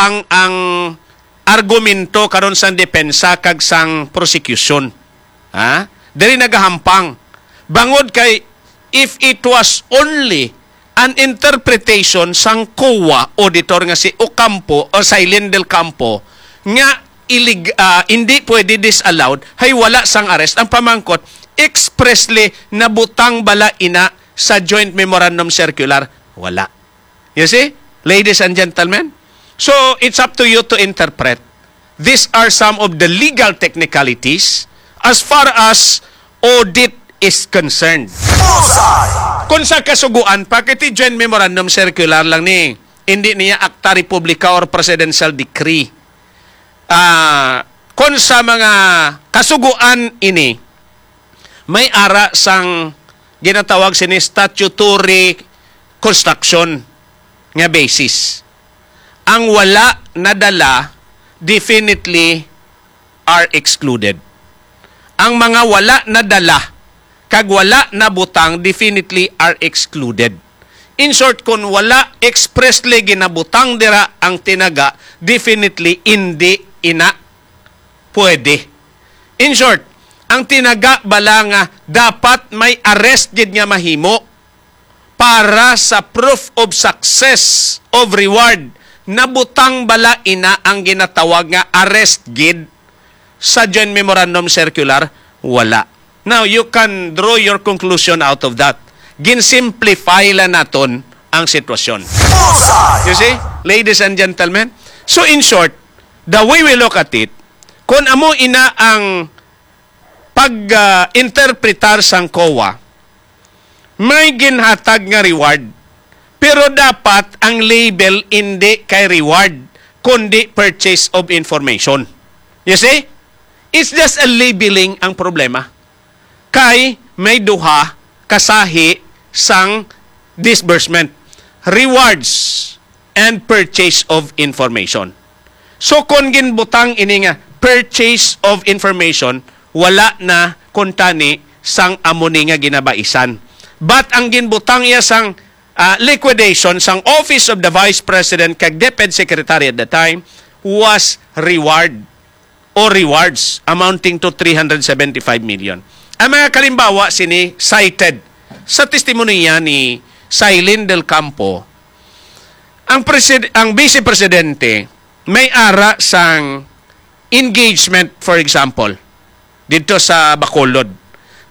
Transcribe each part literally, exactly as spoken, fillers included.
ang, ang argumento karon sang depensa kag sang prosecution. Ha? Diri nagahampang. Bangod kay, if it was only an interpretation sang COA auditor nga si Ocampo o Silene del Campo nga ilig-, ah, hindi pwede disallowed, hay wala sang arrest. Ang pamangkot, expressly nabutang bala ina sa joint memorandum circular? Wala. You see, ladies and gentlemen? So, it's up to you to interpret. These are some of the legal technicalities as far as audit is concerned. Bullseye! Kung sa kasuguan, pakiti joint memorandum circular lang ni. Hindi niya akta republika or presidential decree. Ah, kung sa mga kasuguan ini, may ara sang ginatawag sini statutory construction nga basis. Ang wala nadala definitely are excluded. Ang mga wala nadala kag wala nabutang definitely are excluded. In short, kung wala expressly ginabutang dira ang tinaga, definitely hindi ina pwede. In short, ang tinaga bala nga dapat may arrest gid nga mahimo para sa proof of success of reward, nabutang bala ina ang ginatawag nga arrest gid sa joint memorandum circular? Wala. Now, you can draw your conclusion out of that. Gin-simplify lang naton ang sitwasyon. Bullseye! You see, ladies and gentlemen? So, in short, the way we look at it, kung amo ina ang pag, ah, interpretar sang COA, may ginhatag nga reward. Pero dapat ang label hindi kay reward, kundi purchase of information. You see? It's just a labeling ang problema. Kay may duha kasahi sang disbursement. Rewards and purchase of information. So, kung ginbutang ini nga purchase of information, wala na kuntani sang amo ni nga ginabaisan. But ang ginbutang iya sang, ah, liquidation sang Office of the Vice President kag DepEd Secretary at the time was reward or rewards amounting to three hundred seventy-five million. Ang mga kalimbawa sini cited sa testimonya ni Silene del Campo, ang presid-, ang vice presidente may ara sang engagement, for example, dito sa Bacolod.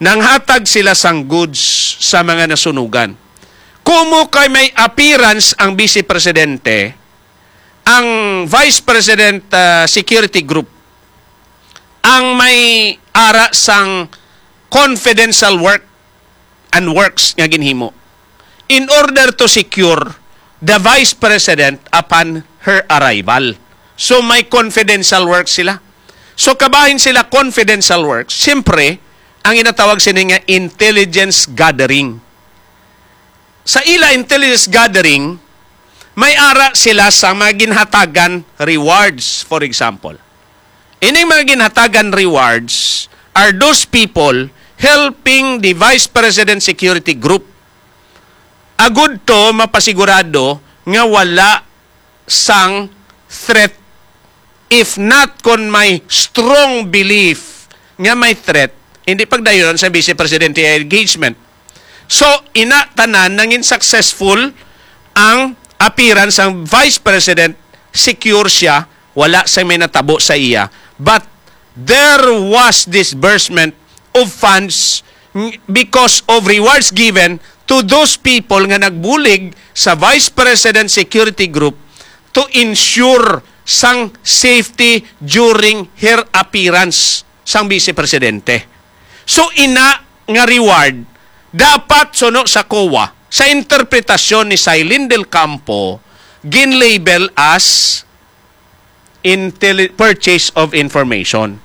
Nanghatag sila sang goods sa mga nasunugan. Kumo kay may appearance ang vice presidente, ang Vice President, ah, Security Group ang may ara sang confidential work and works nga ginhimo in order to secure the Vice President upon her arrival. So, may confidential work sila. So, kabahin sila confidential work, siyempre, ang ginatawag sini nga intelligence gathering. Sa ila intelligence gathering, may ara sila sa mga ginhatagan rewards, for example. Ining mga ginhatagan rewards are those people helping the Vice President Security Group. Agud to mapasigurado nga wala sang threat. If not, kon may strong belief nga may threat, hindi pagdayonon sa Vice Presidente ang engagement. So, ina tanan nangin successful ang appearance sang Vice President, secure siya, wala sa may natabo sa iya. But there was disbursement of funds ng-, because of rewards given to those people nga nagbulig sa Vice President Security Group to ensure sang safety during her appearance sang Vice Presidente. So, ina nga reward, dapat suno sa COA, sa interpretasyon ni Silene del Campo, gin-label as intelli-, purchase of information.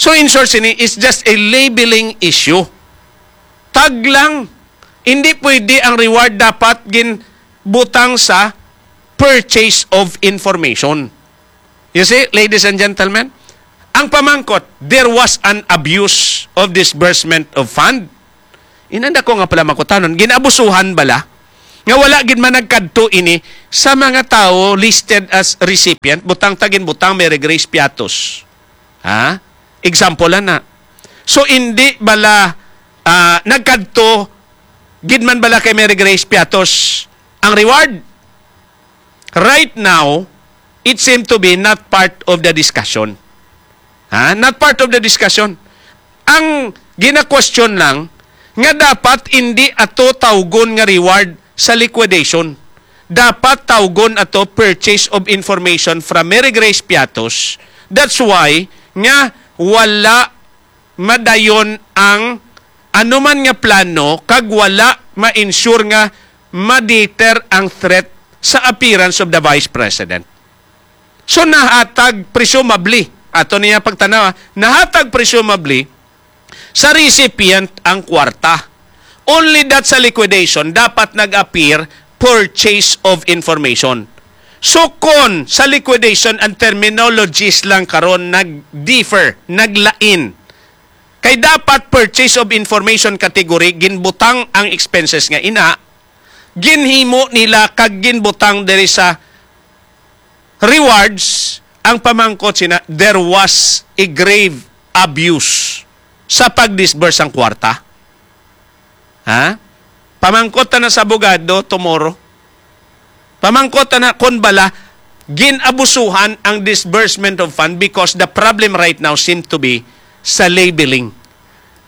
So, in short, sini is just a labeling issue. Tag lang. Hindi pwede ang reward dapat ginbutang sa purchase of information. You see, ladies and gentlemen, ang pamangkot, there was an abuse of disbursement of fund. Inanda ko nga pala makutanon, ginabusuhan bala nga wala gid man nagkadto ini sa mga tawo listed as recipient, butang ta ginbutang Mary Grace Piatos. Ha? Example lang na. So, hindi bala, ah, nagkadto gid man bala kay Mary Grace Piatos ang reward? Right now, it seem to be not part of the discussion. Ha? Not part of the discussion. Ang gina-question lang nga dapat hindi ato tawgon nga reward sa liquidation. Dapat tawgon ato purchase of information from Mary Grace Piatos. That's why nga wala madayon ang anuman nga plano kag wala ma-ensure nga ma-deter ang threat sa appearance of the Vice President. So, nahatag presumably, ato niya pagtanaw, ah, nahatag presumably sa recipient ang kwarta. Only that sa liquidation dapat nag-appear purchase of information. So, kon sa liquidation ang terminologies lang karon nag-differ, naglain, kay dapat purchase of information category, ginbutang ang expenses nga ina, ginhimo nila kag ginbutang diri sa rewards. Ang pamangkot sina, there was a grave abuse sa pag-disburse sang kwarta. Ha? Pamangkot ta na sa abogado tomorrow. Pamangkot ta na kon bala gin-abusuhan ang disbursement of fund, because the problem right now seem to be sa labeling.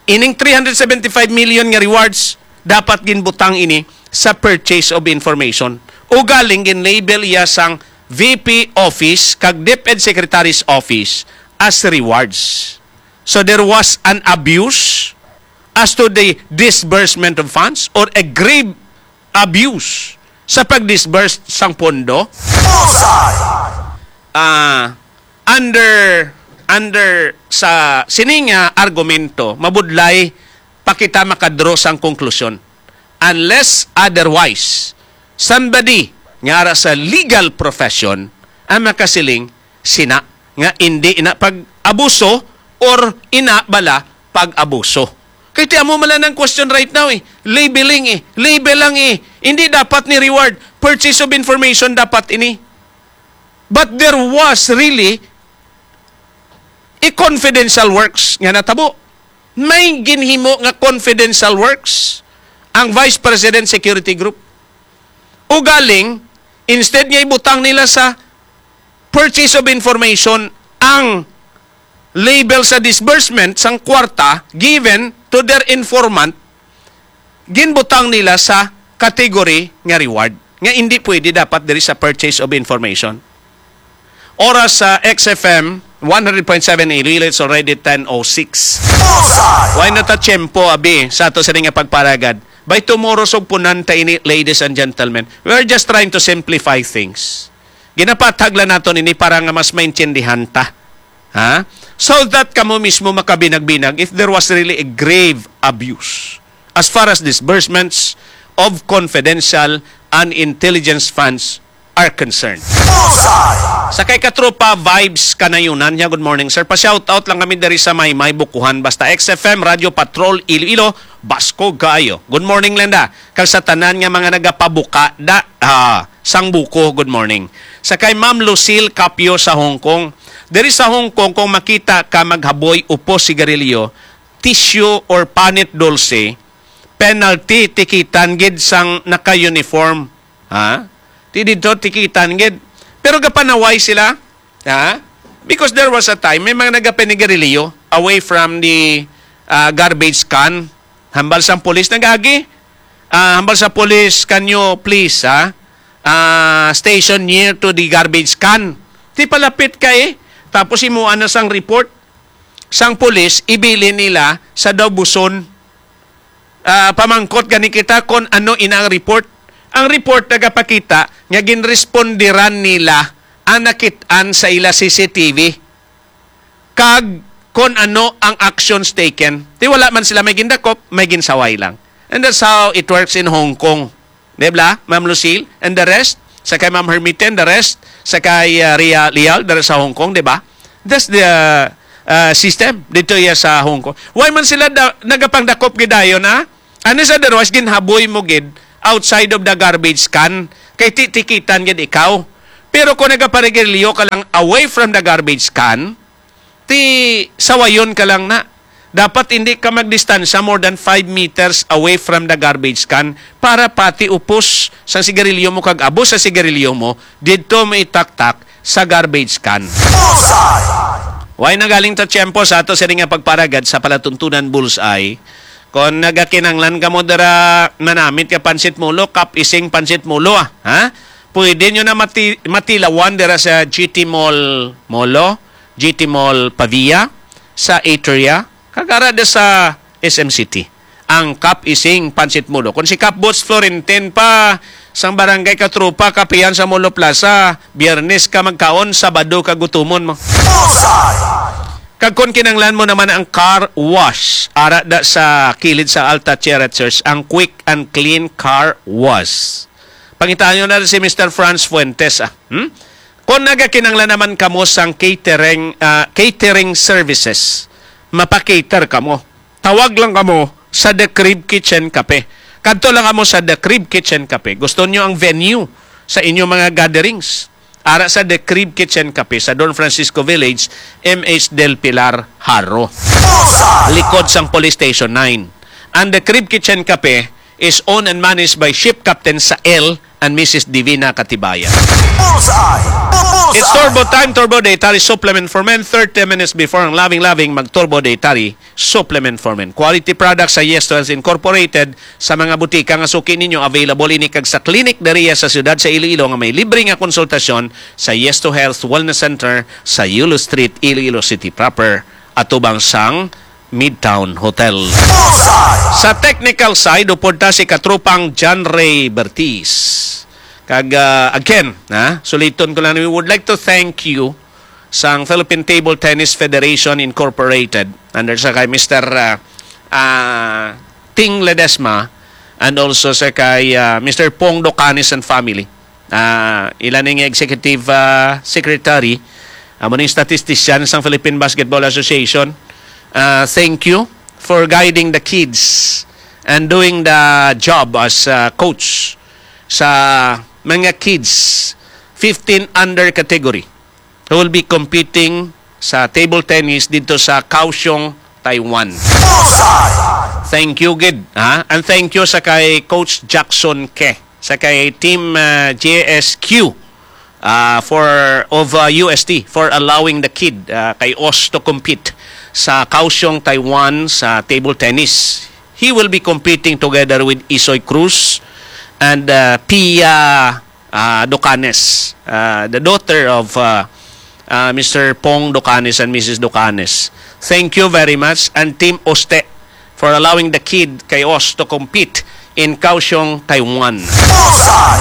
Ining three hundred seventy-five million nga rewards, dapat ginbutang ini sa purchase of information. Ugaling gin-label iya sang V P office kag DepEd Secretary's office as rewards. So there was an abuse as to the disbursement of funds, or a grave abuse sa pag-disburse sang pondo? Bullseye! Ah, under, under sa sini nga argumento, mabudlay pa kita makadraw sang konklusyon. Unless otherwise, somebody nga ara sa legal profession ang makasiling sina nga indi ina pag-abuso or ina bala pag-abuso. Kay ti amo man lang ang question right now eh. Labeling eh. Label lang eh. Hindi dapat ni reward. Purchase of information dapat ini. But there was really a confidential works nga natabo. May ginhimo nga confidential works ang Vice President Security Group. Ugaling, instead nga ibutang nila sa purchase of information ang label sa disbursement sang kwarta given to their informant, ginbutang nila sa category nga reward, nga hindi pwede dapat diri sa purchase of information. Oras sa X F M, one hundred point seven Iloilo, it's already ten oh six. Bullseye! Wala na ta tiyempo, abi, sa ato sini nga pagparagad. By tomorrow, sugpunan ta ini, ladies and gentlemen. We're just trying to simplify things. Ginapathag lang naton ini para nga mas maintindihan ta. Ha? So that kamo mismo makabinag-binag if there was really a grave abuse as far as disbursements of confidential and intelligence funds are concerned. Bullseye! Sa kay Katropa Vibes Kanayunan niya, good morning, sir. Pa-shoutout lang kami diri sa Maymay, Bukuhan. Basta X F M, Radio Patrol, Iloilo, baskog kaayo. Good morning, Lenda. Kag sa tanan nga mga nagapabuka da, ah, sang buko, good morning. Sa kay Ma'am Lucille Capio sa Hong Kong, diri sa Hong Kong, kung makita ka maghaboy upos sigarilyo, tissue or panit dulce, penalty, tikitan gid sang naka-uniform. Ha? Ti didto, tikitan gid. Pero gapanaway sila. Ha? Because there was a time, may mga nagapanigarilyo away from the, ah, garbage can. Hambal sang pulis, nag-agi. Ah, hambal sa pulis, "Can you please, ha? Ah, station near to the garbage can." Ti palapit ka eh. Tapos imuan na sang report sang pulis, ibilin nila sa daw buson. Ah, pamangkot gani kita kon ano ina ang report. Ang report nagapakita nga ginrespondiran nila ang nakit-an sa ila C C T V kag kon ano ang actions taken. Ti wala man sila may gindakop, may ginsaway lang. And that's how it works in Hong Kong. Di ba, Ma'am Lucille? And the rest, sa kay Ma'am Hermite and the rest, sa kay, ah, Ria Lial, dara sa Hong Kong, di ba? That's the, ah, ah, system dito iya sa Hong Kong. Why man sila da, nagapangdakop gidayon, ha? Unless otherwise, ginhaboy mo gid outside of the garbage can, kay titikitan gid ikaw. Pero kung nagaparigarilyo ka lang away from the garbage can, ti sawayon ka lang na. Dapat hindi ka magdistansya more than five meters away from the garbage can para pati upos sang sigarilyo mo kag abo sa sigarilyo mo didto mo itaktak sa garbage can. Bullseye! Way na galing ta tiyempo sa ato sini nga pagparagad sa palatuntunan Bullseye. Kon nagakinanglan kamo dira manamit ka pansit Molo, Cup Ising pansit Molo, ah, ha? Pwede nyo na mati-, matilawan dira sa G T Mall Molo, G T Mall Pavia, sa Atria, kag ara da sa S M City. Ang Cup Ising pansit Molo. Kung si Cup Boots Florentin pa, sang Barangay Katropa, kapihan sa Molo Plaza, Biyernes ka magkaon, Sabado ka gutumon mo. Bullseye! Kag kung kinanglan mo naman ang car wash, ara da sa kilid sa Alta Sierra Church, ang Quick and Clean Car Wash. Pangitaan nyo na si Mister Franz Fuentes, ah. Hmm? Kung nagakinanglan naman kamo sang catering, ah, catering services, mapa-cater kamo. Tawag lang kamo sa The Crib Kitchen Cafe. Kadto lang kamo sa The Crib Kitchen Cafe. Gusto nyo ang venue sa inyong mga gatherings? Ara sa The Crib Kitchen Cafe sa Don Francisco Village, M H Del Pilar, Jaro. Likod sang Police Station nine. Ang The Crib Kitchen Cafe is owned and managed by Ship Captain Sael and Missus Divina Katibayan. Bullseye! Bullseye! It's Turbo Time, Turbo Dietary Supplement for Men. Thirty minutes before ang loving-loving, mag-Turbo Dietary Supplement for Men. Quality products sa Yes to Health Incorporated, sa mga butika nga suki ninyo, available ini kag sa clinic diriya sa siyudad sa Iloilo nga may libre nga konsultasyon sa Yes to Health Wellness Center sa Yulo Street, Iloilo City proper, atubang sang Midtown Hotel. Sa technical side, upod ta si katropang John Ray Bertiz. Kag, ah, again, ha, suliton ko lang, we would like to thank you sang Philippine Table Tennis Federation Incorporated, under sa kay Mister, ah, ah, Ting Ledesma, and also sa kay, ah, Mister Pong Docanes and family. Ah, ila ni nga executive, ah, secretary, amo ning statistician sang Philippine Basketball Association. Ah, thank you for guiding the kids and doing the job as, ah, coach sa mga kids fifteen under category who will be competing sa table tennis dito sa Kaohsiung, Taiwan. Bullseye! Thank you gid, ha? And thank you sa kay Coach Jackson Ke, sa kay Team, ah, J S Q, ah, for, of, ah, U S T for allowing the kid, ah, kay Os to compete sa Kaohsiung, Taiwan sa table tennis. He will be competing together with Isoy Cruz and, ah, Pia, ah, Docanes, ah, the daughter of, ah, ah, Mister Pong Docanes and Missus Docanes. Thank you very much, and Team Oste, for allowing the kid kay Os to compete in Kaohsiung, Taiwan.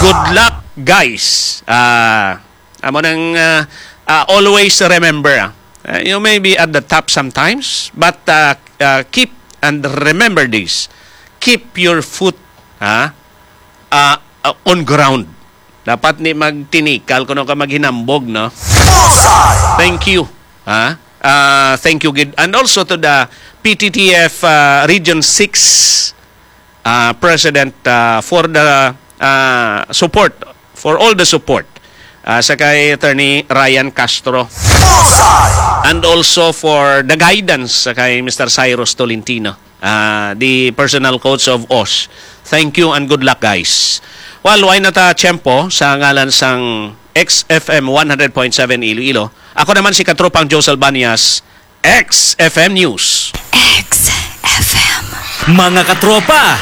Good luck, guys. Ah, amo nang, ah, ah, always remember, ah, ah, you may be at the top sometimes, but, ah, ah, keep and remember this. Keep your foot, ah, ah, ah, on ground. Dapat ni magtinikal kuno ka maghinambog, no? Bullseye! Thank you. Ha? Ah, thank you gid. And also to the P T T F, ah, Region six, ah, President, ah, for the, ah, support, for all the support, ah, sa kay Attorney Ryan Castro. Bullseye! And also for the guidance sa kay Mister Cyrus Tolentino, ah, the personal coach of Os. Thank you and good luck, guys. Well, way na ta tiyempo sa ngalan sang X F M one hundred point seven Iloilo. Ako naman si Katropang Joe Salbanias, X F M News. X F M. Mga katropa,